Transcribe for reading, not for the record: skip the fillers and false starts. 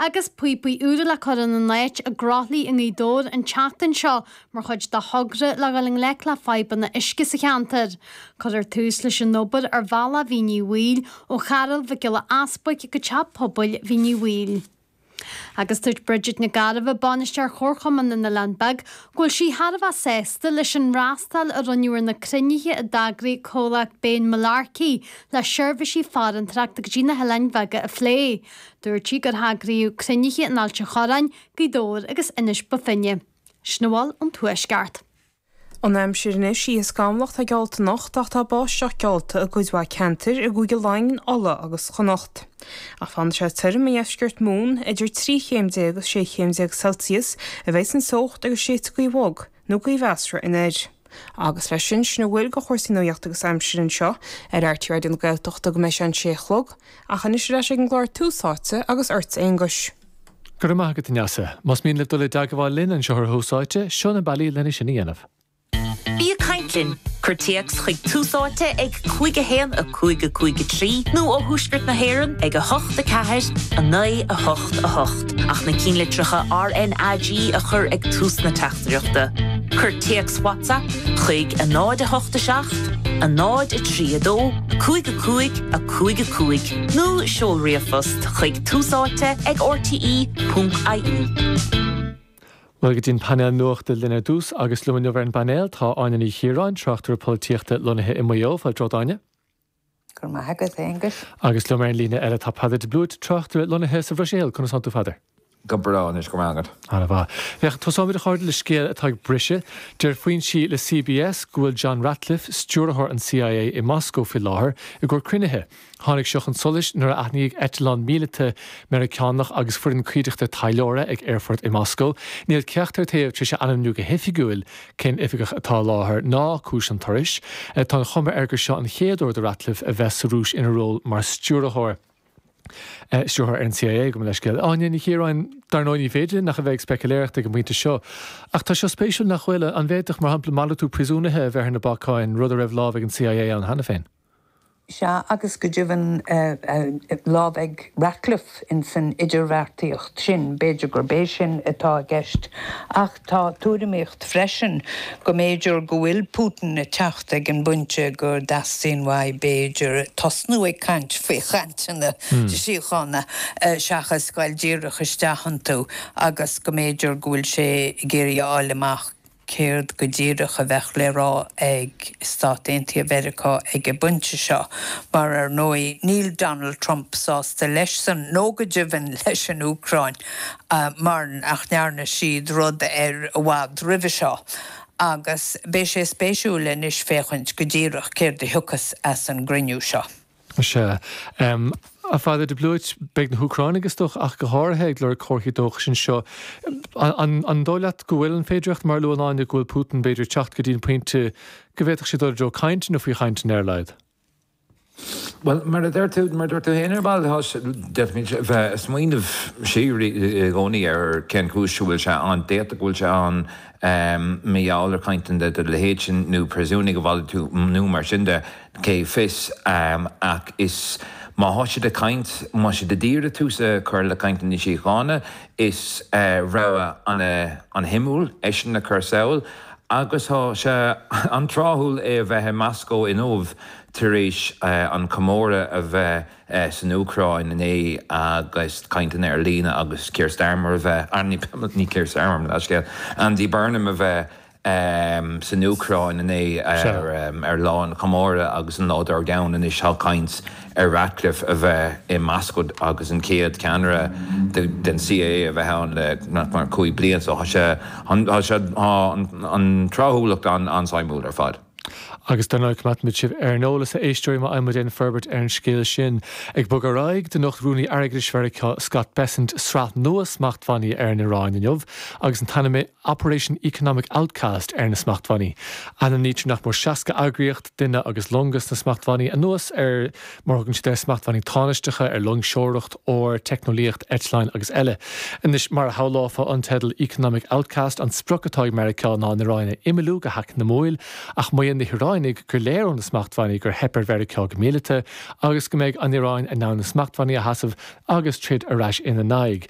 Agus píopaí úra le cur ina n-áit i gCroithlí i nGaoth Dobhair an tseachtain seo mar chuid de thogra le dhul i ngleic le fadhbanna uisce sa cheantar. Cuirfear tús leis an obair ar bhealach Mhín Uí Bhaoill ó Charúl Mhic Giolla Easbuic go Teach Pobail Mhín Uí Bhaoill. Agus dúirt Bridget Nic Gairbheith, Bainisteoir Chomharchumann na nOileán Beag, go bhfuil sí thar a bheith sásta leis an fhreastal a rinneadh ar na cruinnithe a d'eagraigh comhlacht Bain Mullarkey le seirbhísí farantóireachta go dtí na hOileáin Bheaga a phlé. Dúirt sí gur heagraíodh cruinnithe in Ailt an Chorráin, Gaoth Dobhair agus Inis Bó Finne. Sin a bhfuil ón Tuaisceart. An aimsir anois, oíche scamallach atá geallta anocht ach tá báisteach geallta i gcuid mhaith ceantar i gCúige Laighean, Uladh agus Chonnacht. Ach fanfaidh sé tirim i ndeisceart Mumhan, idir 13 chéim agus 16 chéim Celsius a bheidh an teocht agus séidfidh gaoth bhog nó gaoth mheasartha anoir. Agus leis sin, sin a bhfuil de chúrsaí nuachta agus aimsire anseo ar RTÉ Raidió na Gaeltachta go mbeidh sé an sé a chlog, ach anois ar ais ag an gclár Tús Áite agus ortsa Aonghus. Go raibh maith agat, a Neasa. Más mian libh dul i dteagmháil linn anseo ar Thús Áite, seo na bealaí lena sin a dhéanamh. Bí ag caint linn! Cuir téacs chuig Tús Áite ag 5 1 5 5 3 nó ó Thuaisceart na hÉireann ag 8 4 9 8 8 ach na cinnlitreacha RnaG a chur ag tús na teachtaireachta. Cuir téacs WhatsApp chuig 0 8 7 0 3 2 5 5 5 5 nó seol ríomhphost chuig túsáite ag rte ponc ie. Bhuel, go dtí an painéal nuachta linn ar dtús agus liom inniu ar an bpainéal tá Áine Ní Chiaráin, tráchtaire polaitíochta lonnaithe i Maigh Eo. Fáilte romhat, Áine. Go raibh maith agat, a Aonghuis. Agus liom ar an líne eile tá Peadar de Blúit, tráchtaire lonnaithe sa Bhruiséil. Conas tánn tú, Pheadair? Go breá anois, go raibh maith agat. Ana-mhaith. Féach, tosóimid a chairde le scéal atá ag briseadh. Deir foinsí le CBS go bhfuil John Ratcliffe, stiúrthóir an CIA i Moscó faoi láthair i gcomhair cruinnithe. Tháinig seo chun solais nuair a aithníodh eitleán míleata Meiriceánach agus foireann cuideachta taidhleora ag aerfort i Moscó. Níl ceachtar taobh tar éis a ainmniú go hoifigiúil cén oifigeach atá i láthair ná cúis an turais. Tá an chuma air gur seo an chéad uair do Ratcliffe a bheith sa Rúis ina ról mar stiúrthóir. Stiúrthóir ar an CIA, gabh mo leithscéal. Áine Ní Chiaráin, Dar ndóigh ní féidir linn ach a bheith ag speicealéireacht ag an bpointe seo. Ach tá seo spéisiúil nach bhfuil? An bhféadfadh, mar shampla, malartú príosúnaithe a bheith ar na bacáin, rud a raibh lámh ag an CIA ann cheana féin? Sea, agus go deimhin lámh ag Ratcliffe ins an idirbheartaíocht sin, b'fhéidir gurb é sin atá i gceist. Ach tá tuairimíocht freisin go mb'fhéidir go bhfuil Putin ag teacht ag an bpointe go dteastaíonn uaidh, b'fhéidir, tosnú ag caint faoi chainteanna síochána seachas goil díreach isteach iontu agus go mb'fhéidir go bhfuil sé ag iarraidh a fháil amach céard go díreach a bheadh le rá ag Stáit Aontaithe Mheiriceá ag an bpointe seo, mar ar ndóigh níl Donald Trump sásta leis-san nó go deimhin leis an Úcráin mar nach ndearna siad rud air i bhfad roimhe seo. Agus beidh sé spéisiúil anois féachaint go díreach céard a thiocfas as an gcruinniú seo. Sea. A Pheadair de Blúit, beidh na hÚcránaigh, is dócha, ach go háirithe, ag lorg comharthaí dóchais anseo. An dóigh leat go bhfuil an féidireacht, mar a luann Áine, go bhfuil Putin, b'fhéidir, ag teacht go dtí an pointe go bhféadfadh sé dul i dtreo cainte nó faoi chainteanna ar a laghad? Bhuel, mar a deir tú, mar a dúirt tú féin ar ball, tá sé, d'fhéadfaimis a bheith ag smaoineamh siar i gcónaí ar cén chúis a bhfuil sé ann. D'fhéadfadh go bhfuil sé ann mar gheall ar chainteanna de leithéid sin nó príosúnaigh a mhalartú nó mar sin de. Cé fios, ach is má thá siad ag caint, má siad ag iarraidh tús a chur le cainteanna síochána, is rogha an-shuimiúil é sin a chur sall agus thá sé an-tráthúil é a bheith i Moscó inniu tar éis an comóradh a bheith san Úcráin inné agus cainteanna ar líne agus Keir Starmer a bheith, ní Keir Starmer, mo leithscéal, Andy Burnham a bheith san Úcráin inné ar lá an chomóradh agus an lá dár gcionn anois tá caint ar Ratcliffe a bheith i Moscó agus an chéad cheannaire den CIA a bheith ann le nach mar 5 bliain so tá sé tá sé tá an tráthúlacht an-suimiúil ar fad. Agus dar ndóigh coimeádfaimid sibh ar an eolas, a éisteoirí, má fhaigheann muid aon forbairt ar an scéal sin. Ag bogadh ar aghaidh, d'inocht Rúnaí Airgeadais Mheiriceá Scott Bessent sraith nua smachtbhannaí ar an Iaráin inniu agus an t-ainm Operation Economic Outcast ar na smachtbhannaí. Ainmnítear nach mór 60 eagraíocht, duine agus longa sna smachtbhannaí, anuas ar, mar a thugann siad air, smachtbhannaí tánaisteacha ar loingseoireacht, ór, teicneolaíocht, eitleáin agus eile. Anois, mar a shamhlófá an teideal Economic Outcast, an sprioc atá ag Meiriceá ná an Iaráin a imeallú go heacnamúil, ach maíonn na hIaránaigh. Iaránaigh gur léir ó na smachtbhannaí gur theip ar Mheiriceá go míleata agus go mbeidh an Iaráin in ann na smachtbhannaí a sheasamh agus troid ar ais ina n-aghaidh.